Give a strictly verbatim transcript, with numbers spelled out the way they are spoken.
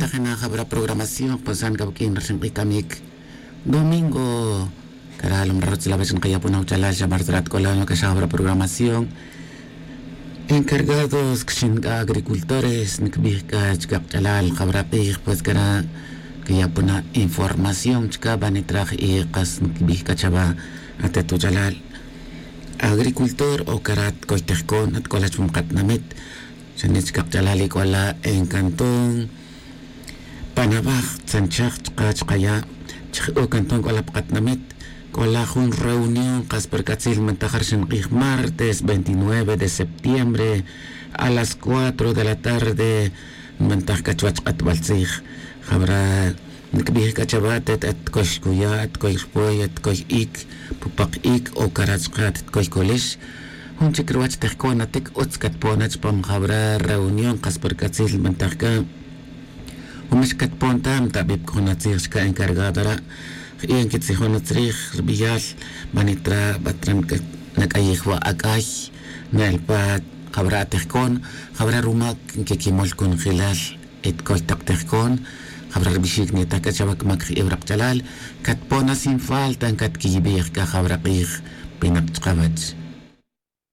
Jena' jabara programación jpon san kawak'in ri xink'ij k'amik domingo. Kara' lom ri rutzil awech nkaya' pon awachalal xa martzara' tk'ola' nukaxa jabara programación. Encargados kxin k'a agricultores nkbij k'a chkaq' ch'alal jabara' q'ij pues kara' kaya' pon a información chka' banit raj y qas nkbij k'a chawa' atet wuch'alal agricultor o kara' tkoy tejkon atk'ola' chupam qatinamit. Xane' chkaq' ch'alal ik'ola' en cantón panabaj tzanchaj chka' chkaya' chijk'o cantón k'ola' pa qatinamit. K'ola' jun reunión qas pa ri k'atzil nbantaj ri xink'ij martes veintinueve de septiembre a las cuatro de la tarde. Nbantaj k'a chuwech q'atbal tzij jabara' nkbij k'a chawa' atet atkoy kuya' atkoy rpoy atkoy iik pupaq iik o kara' chka' atkoy kolex. Jun chik ruwech tejkon atik utz katpon a chupam jabara' reunión qas pa ri k'atzil nbantaj k'a. Jun mix katpon ta ntabij pa jun atzij chka' encargado ra'. Jie' nkitzijon utzrij ri b'eyal banit ra' b'at ra' nak'ayij wa' ak'ay. Na'el pa jab'ra' atejkon jab'ra' rumak nkekimol konojilal etkoy taq tejkon. Jab'ra' ri b'ixik nitaj k'a chawa' kmak jie' wuraq ch'alal. Katpon na sin falta nkatkiyib'ej k'a jab'ra' q'ij pinaq chqawach.